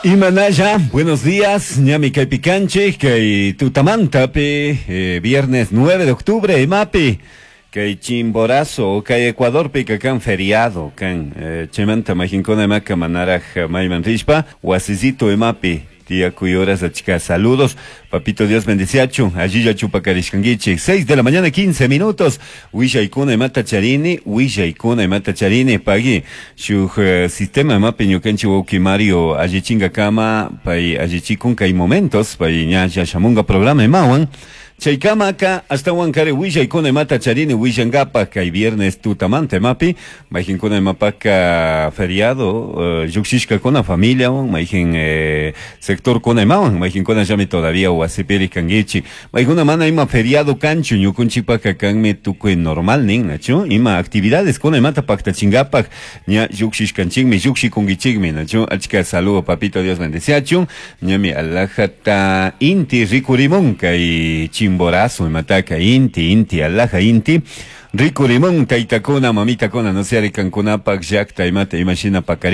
Imanalla, buenos días, ñami kaypi kanchik, kay tutamantapi, viernes 9 de octubre, imapi, kay Chimborazo, kay Ecuadorpi kan feriado, kan, chaymanta mayqinkuna imaka manaraj mayman rishpa, wasisito imapi, tiyakuy horas achka saludos, papito Dios bendiciachun, allilla chupakarishkankichik, 6 de la mañana 15 minutos, willaykuna imata charini, willaykuna imata charini, pagui, shuk sistema imapi ñukanchik wawqi Mario allichinkakama, pay allichikun kay momentos, pay ñalla shamunga programa imawan, chaykamaka ashtawan kari willaykuna imata charini willankapaj kay viernes tutamanta imapi, mayqinkuna imapaka feriado, llukshishkakuna familiawan, mayqin sectorkuna imawan, mayqinkuna llami todavía wasipiri kankichik, maykuna mana ima feriado kanchu, ñukunchikpaka kanmi tukuy normal nin, nachu, ima actividades kuna imata paktachinkapak ña llukshishkanchikmi, llukshikunkichikmi, nachu, achka saludo papito Dios bendeciachun, ñami alajata inti rikurimun kay Chimborazo imataka inti, inti, alaja inti, rikurimun taytakuna, mamitakuna, no sé, kankunapak llakta imata imashina pakarin.